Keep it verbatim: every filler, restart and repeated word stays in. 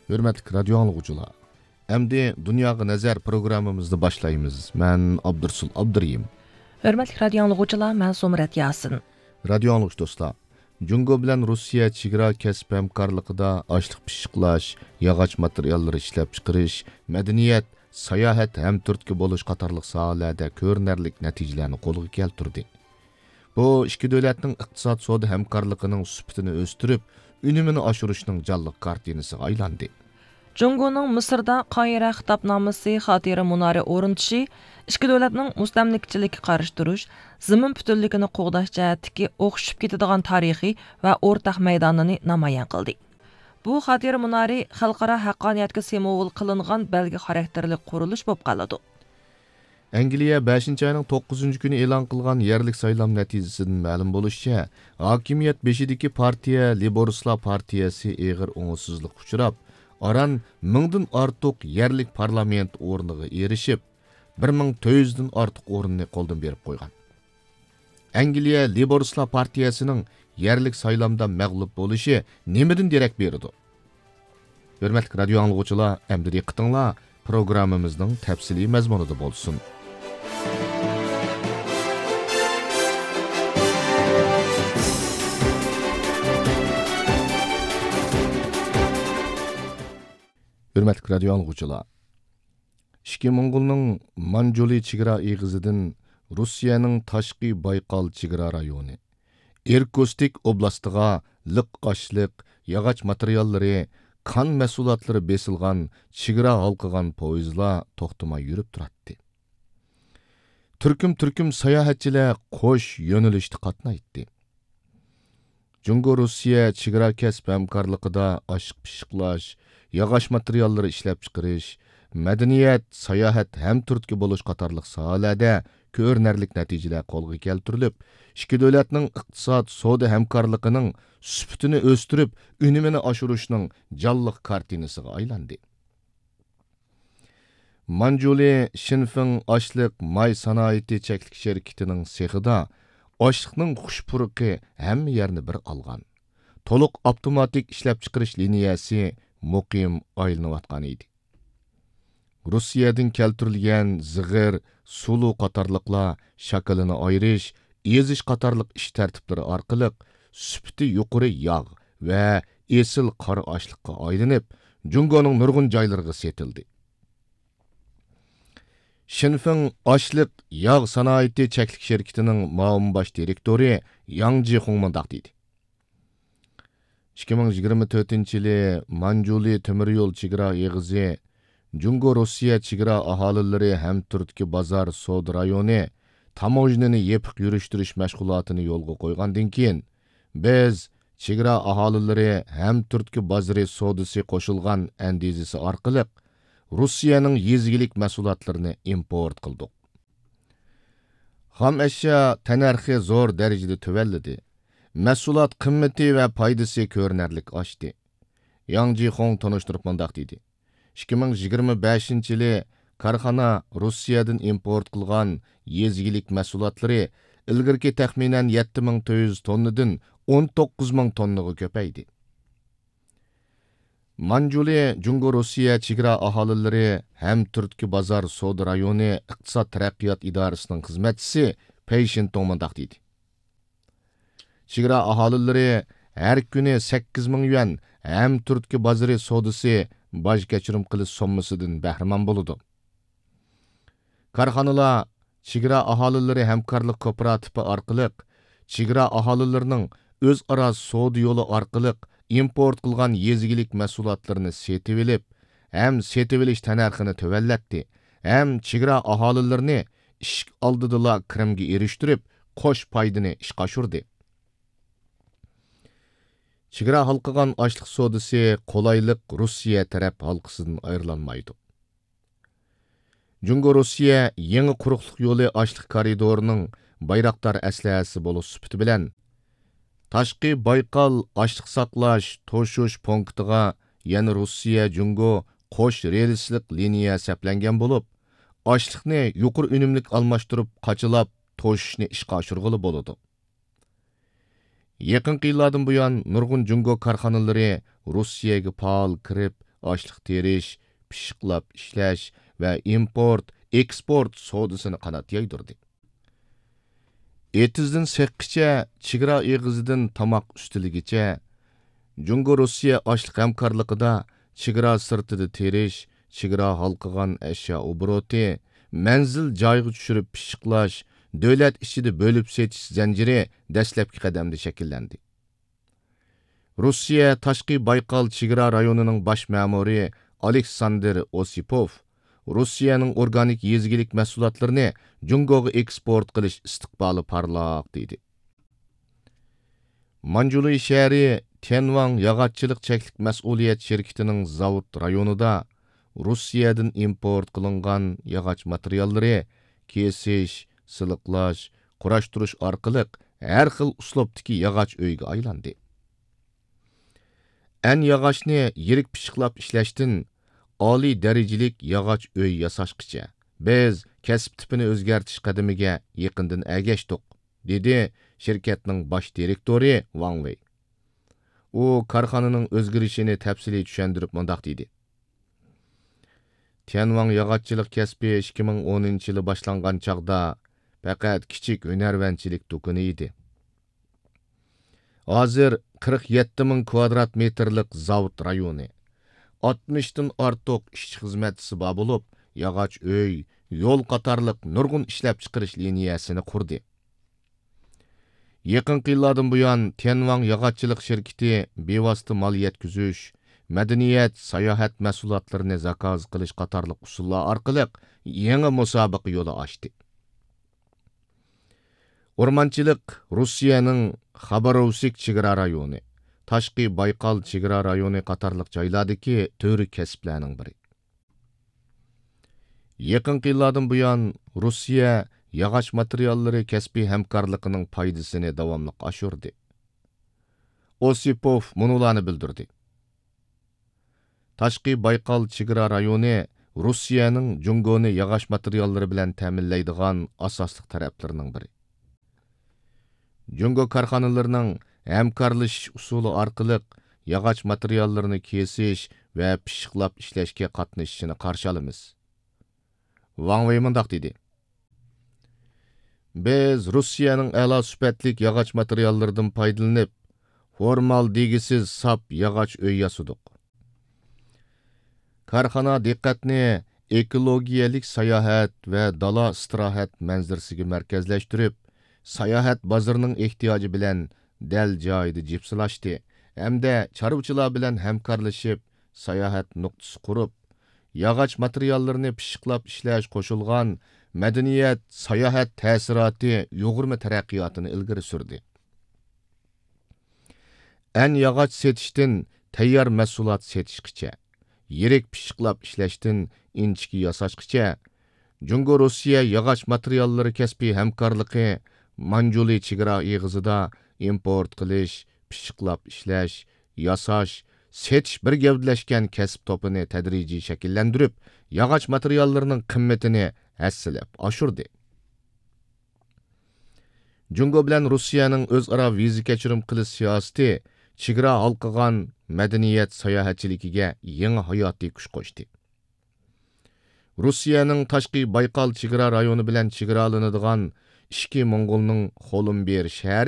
ھۆرمەتلىك رادىيو ئاڭلىغۇچىلار، ئەمدى دۇنياغا نەزەر پروگراممىمىزنى باشلايمىز. مەن ئابدۇرسۇل ئابدۇرېھىم. ھۆرمەتلىك رادىيو ئاڭلىغۇچىلار، مەن زۇمرەت ياسىن. رادىيو ئاڭلىغۇچى دوستلار، جۇڭگو بىلەن روسىيە چېگرا كەسىپ ھەمكارلىقىدا ئاشلىق پىششىقلاش، ياغاچ ماتېرىياللىرى ئىشلەپچىقىرىش، مەدەنىيەت، ساياھەت ھەم تۈرتكە بولۇش قاتارلىق ساھەلەردە كۆرۈنەرلىك نەتىجىلەرنى قولغا كەلتۈردى. بۇ ئىككى دۆلەتنىڭ ئىقتىساد سودا ھەمكارلىقىنىڭ سۈپىتىنى ئۆستۈرۈپ، ئۈنۈمىنى ئاشۇرۇشنىڭ جانلىق كارتىنىسىغا ئايلاندى. جۇڭگونىڭ مىسىردا قاھىرە خىتابنامىسى خاتىرە مۇنارى ئورنىتىشى ئىككى دۆلەتنىڭ مۇستەملىكىچىلىككە قارشى تۇرۇش، زېمىن پۈتۈنلۈكىنى قوغداش جەھەتتىكى ئوخشىشىپ كېتىدىغان تارىخى ۋە ئورتاق مەيدانىنى نامايان قىلدى. بۇ خاتىرە مۇنارى خەلقئارا ھەققانىيەتكە سىمۋول قىلىنغان بەلگە خاراكتېرلىك قۇرۇلۇش بولۇپ قالىدۇ. ئەنگلىيە بەشىنچى ئاينىڭ توققۇزىنچى كۈنى ئېلان قىلغان يەرلىك سايلام نەتىجىسىدىن مەلۇم بولۇشىچە، ھاكىمىيەت بېشىدىكى پارتىيە لېيبورىستلار پارتىيەسى ئېغىر ئوڭۇشسىزلىققا ئۇچراپ، ئاران مىڭدىن ئارتۇق يەرلىك پارلامېنت ئورنىغا ئېرىشىپ، بىر مىڭ تۆت يۈزدىن ئارتۇق ئورۇننى قولدىن بېرىپ قويغان. ئەنگلىيە لېيبورىستلار پارتىيەسىنىڭ يەرلىك سايلامدا مەغلۇپ بولۇشى نېمىدىن دېرەك بېرىدۇ؟ ھۆرمەتلىك رادىيو ئاڭلىغۇچىلار، ئەمدى دىققىتىڭلار پروگراممىمىزنىڭ تەپسىلىي مەزمۇنىدا بولسۇن. ھۆرمەتلىك رادىيو ئاڭلىغۇچىلار، ئىككى موڭغۇلنىڭ مانجۇلى چېگرا ئېغىزىدىن روسىيەنىڭ تاشقى بايقال چېگرا رايونى، ئىركۇتسك ئوبلاستىغا لىق ئاشلىق، ياغاچ ماتېرىياللىرى، كان مەھسۇلاتلىرى بېسىلغان چېگرا ھالقىغان پويىزلار توختىماي يۈرۈپ تۇراتتى. تۈركۈم-تۈركۈم ساياھەتچىلەر قوش يۆنىلىشتە قاتنايتتى. جۇڭگو روسىيە چېگرا كەسىپ ھەمكارلىقىدا ئاشلىق پىششىقلاش، ياغاچ ماتېرىياللىرى ئىشلەپچىقىرىش، مەدەنىيەت، ساياھەت ھەم تۈرتكە بولۇش قاتارلىق ساھەلەردە كۆرۈنەرلىك نەتىجىلەر قولغا كەلتۈرۈلۈپ، ئىككى دۆلەتنىڭ ئىقتىساد، سودا ھەمكارلىقىنىڭ سۈپىتىنى ئۆستۈرۈپ، ئۈنۈمىنى ئاشۇرۇشنىڭ جانلىق كارتىنىسىغا ئايلاندى. مانجۇلى شىنفېڭ ئاشلىق ماي سانائىتى چەكلىك شىركىتىنىڭ سېخىدا ئاشلىقنىڭ خۇش پۇرىقى ھەممە يەرنى بىر ئالغان. تولۇق ئاپتوماتىك ئىشلەپچىقىرىش لىنىيەسى مۇقىم ئايلىنىۋاتقان ئىدى. روسىيەدىن كەلتۈرۈلگەن زىغىر، سۇلۇ قاتارلىقلار شاكىلىنى ئايرىش، ئېزىش قاتارلىق ئىش تەرتىپلىرى ئارقىلىق سۈپىتى يۇقىرى ياغ ۋە ئېسىل قارا ئاشلىققا ئايلىنىپ، جۇڭگونىڭ نۇرغۇن جايلىرىغا سېتىلدى. شىنفېڭ ئاشلىق ياغ سانائىتى چەكلىك شىركىتىنىڭ مۇئاۋىن باش دىرېكتورى ياڭ جىخۇڭ مۇنداق دېدى: ئىككى مىڭ يىگىرمە تۆتىنچى يىلى مانجۇلى تۆمۈر يول چېگرا ئېغىزى، جۇڭگو روسىيە چېگرا ئاھالىلىرى ھەم تۈرتكە بازار سودا رايونى تاموژنىنى يېپىق يۈرۈشتۈرۈش مەشغۇلاتىنى يولغا قويغاندىن كېيىن، بىز چېگرا ئاھالىلىرى ھەم تۈرتكە بازىرى سودىسى قوشۇلغان ئەندىزىسى ئارقىلىق روسىيەنىڭ يېزا ئىگىلىك مەھسۇلاتلىرىنى ئىمپورت قىلدۇق. خام ئەشيا تەننەرخى زور دەرىجىدە تۆۋەنلىدى. مەھسۇلات قىممىتى ۋە پايدىسى كۆرۈنەرلىك ئاشتى. ياڭ جىخۇڭ تونۇشتۇرۇپ مۇنداق دېدى: ئىككى مىڭ يىگىرمە بەشىنچى يىلى كارخانا روسىيەدىن ئىمپورت قىلغان يېزا ئىگىلىك مەھسۇلاتلىرى ئىلگىرىكى تەخمىنەن يەتتە مىڭ تۆت يۈز توننىدىن ئون توققۇز مىڭ توننىغا كۆپەيدى. مانجۇلى جۇڭگو روسىيە چېگرا ئاھالىلىرى ھەم تۈرتكە بازار سودا رايونى ئىقتىساد تەرەققىيات ئىدارىسىنىڭ خىزمەتچىسى پېي شىنتۇڭ مۇنداق دېدى: چېگرا ئاھالىلىرى ھەر كۈنى سەككىز مىڭ يۈەن ھەم تۈرتكە بازىرى سودىسى باج كەچۈرۈم قىلىش سوممىسىدىن بەھرىمەن بولىدۇ. كارخانىلار چېگرا ئاھالىلىرى ھەمكارلىق كوپىراتىپى ئارقىلىق چېگرا ئاھالىلىرىنىڭ ئۆزئارا سودا يولى ئارقىلىق ئىمپورت قىلغان يېزا ئىگىلىك مەھسۇلاتلىرىنى سېتىۋېلىپ ھەم سېتىۋېلىش تەننەرخىنى تۆۋەنلەتتى ھەم چېگرا ئاھالىلىرىنى ئىشىك ئالدىدىلا كىرىمگە ئېرىشتۈرۈپ، قوش پايدىنى ئىشقا ئاشۇردى. چېگرا ھالقىغان ئاشلىق سودىسى قولايلىق روسىيە تەرەپ ھالقىسىدىن ئايرىلالمايدۇ. جۇڭگو روسىيە يېڭى قۇرۇقلۇق يولى ئاشلىق كارىدورىنىڭ بايراقدار ئەسلىھەسى بولۇش سۈپىتى بىلەن، تاشقى بايقال ئاشلىق ساقلاش، توشۇش پونكىتىغا يەنە روسىيە جۇڭگو قوش رېلىسلىق لىنىيە سەپلەنگەن بولۇپ، ئاشلىقنى يۇقىرى ئۈنۈملۈك ئالماشتۇرۇپ قاچىلاپ توشۇشنى ئىشقا ئاشۇرغىلى بولىدۇ. يېقىنقى يىللاردىن بۇيان، نۇرغۇن جۇڭگو كارخانىلىرى روسىيەگە پائال كىرىپ، ئاشلىق تېرىش، پىششىقلاپ ئىشلەش ۋە ئىمپورت، ئېكسپورت سودىسىنى قانات يايدۇردى. ئېتىزدىن سېخقىچە، چېگرا ئېغىزىدىن تاماق ئۈستىلىگىچە، جۇڭگو روسىيە ئاشلىق ھەمكارلىقىدا چېگرا سىرتىدا تېرىش، چېگرا ھالقىغان ئەشيا ئوبوروتى، مەنزىل جايغا چۈشۈرۈپ پىششىقلاش، دۆلەت ئىچىدە بۆلۈپ سېتىش زەنجىرى دەسلەپكى قەدەمدە شەكىللەندى. روسىيە تاشقى بايقال چېگرا رايونىنىڭ باش مەمۇرى ئالېكساندىر ئوسىپوف روسىيەنىڭ ئورگانىك يېزا ئىگىلىك مەھسۇلاتلىرىنى جۇڭگوغا ئېكسپورت قىلىش ئىستىقبالى پارلاق، دېدى. مانجۇلى شەھىرى تيەنۋاڭ ياغاچچىلىق چەكلىك مەسئۇلىيەت شىركىتىنىڭ زاۋۇت رايونىدا روسىيەدىن ئىمپورت قىلىنغان ياغاچ ماتېرىياللىرى كېسىش، سىلىقلاش، قۇراشتۇرۇش ئارقىلىق ھەر خىل ئۇسلۇبتىكى ياغاچ ئۆيگە ئايلاندى. ئەن ياغاچنى يىرىك پىششىقلاپ ئىشلەشتىن ئالىي دەرىجىلىك ياغاچ ئۆي ياساشقىچە، بىز كەسىپ تىپىنى ئۆزگەرتىش قەدىمىگە يېقىندىن ئەگەشتۇق، دېدى شىركەتنىڭ باش دىرېكتورى ۋاڭ ۋېي. ئۇ كارخانىنىڭ ئۆزگىرىشىنى تەپسىلىي چۈشەندۈرۈپ مۇنداق دېدى: تيەنۋاڭ ياغاچچىلىق كەسپى ئىككى مىڭ ئونىنچى يىلى باشلانغان چاغدا پەقەت كىچىك ھۈنەرۋەنچىلىك دۇكىنى ئىدى. ھازىر قىرىق يەتتە مىڭ كۋادرات مېتىرلىق زاۋۇت رايونى، ئاتمىشتىن ئارتۇق ئىشچى خىزمەتچىسى بار بولۇپ، ياغاچ ئۆي، يول قاتارلىق نۇرغۇن ئىشلەپچىقىرىش لىنىيەسىنى قۇردى. يېقىنقى يىللاردىن بۇيان، تيەنۋاڭ ياغاچچىلىق شىركىتى بىۋاسىتە مال يەتكۈزۈش، مەدەنىيەت، ساياھەت مەھسۇلاتلىرىنى زاكاز قىلىش قاتارلىق ئۇسۇللار ئارقىلىق يېڭى مۇسابىقە يولى ئاچتى. ئورمانچىلىق روسىيەنىڭ خاباروۋسك چېگرا رايونى، تاشقى بايقال چېگرا رايونى قاتارلىق جايلاردىكى تۈۋرۈك كەسىپلەرنىڭ بىرى. يېقىنقى يىللاردىن بۇيان، روسىيە ياغاچ ماتېرىياللىرى كەسپىي ھەمكارلىقىنىڭ پايدىسىنى داۋاملىق ئاشۇردى. ئوسىپوف مۇنۇلارنى بىلدۈردى: تاشقى بايقال چېگرا رايونى روسىيەنىڭ جۇڭگونى ياغاچ ماتېرىياللىرى بىلەن تەمىنلەيدىغان ئاساسلىق تەرەپلىرىنىڭ بىرى. جۇڭگو كارخانىلىرىنىڭ ھەمكارلىشىش ئۇسۇلى ئارقىلىق ياغاچ ماتېرىياللىرىنى كېسىش ۋە پىششىقلاپ ئىشلەشكە قاتنىشىشىنى قارشى ئالىمىز. ۋاڭ ۋېي مۇنداق دېدى: بىز روسىيەنىڭ ئەلا سۈپەتلىك ياغاچ ماتېرىياللىرىدىن پايدىلىنىپ، فورمالدېگىسىز ساپ ياغاچ ئۆي ياسىدۇق. كارخانا دىققەتنى ئېكولوگىيەلىك ساياھەت ۋە دالا ئىستىراھەت مەنزىرىسىگە مەركەزلەشتۈرۈپ، ساياھەت بازىرىنىڭ ئېھتىياجى بىلەن دەل جايىدا جىپسىلاشتى ھەمدە چارۋىچىلار بىلەن ھەمكارلىشىپ، ساياھەت نۇقتىسى قۇرۇپ، ياغاچ ماتېرىياللىرىنى پىششىقلاپ ئىشلەش قوشۇلغان مەدەنىيەت، ساياھەت تەسىراتى يۇغۇرما تەرەققىياتىنى ئىلگىرى سۈردى. ئەن ياغاچ سېتىشتىن تەييار مەھسۇلات سېتىشقىچە، يىرىك پىششىقلاپ ئىشلەشتىن ئىنچىكە ياساشقىچە، جۇڭگو روسىيە ياغاچ ماتېرىياللىرى كەسپىي ھەمكارلىقى مانجۇلى چېگرا ئېغىزىدا ئىمپورت قىلىش، پىششىقلاپ ئىشلەش، ياساش، سېتىش بىر گەۋدىلەشكەن كەسىپ توپىنى تەدرىجىي شەكىللەندۈرۈپ، ياغاچ ماتېرىياللىرىنىڭ قىممىتىنى ھەسسىلەپ ئاشۇردى. جۇڭگو بىلەن روسىيەنىڭ ئۆزئارا ۋىزا كەچۈرۈم قىلىش سىياسىتى چېگرا ھالقىغان مەدەنىيەت ساياھەتچىلىكىگە يېڭى ھاياتىي كۈچ قوشتى. روسىيەنىڭ تاشقى بايقال چېگرا رايونى بىلەن چېگرالىنىدىغان ئىچكى موڭغۇلنىڭ خولۇمبىر شەھىرى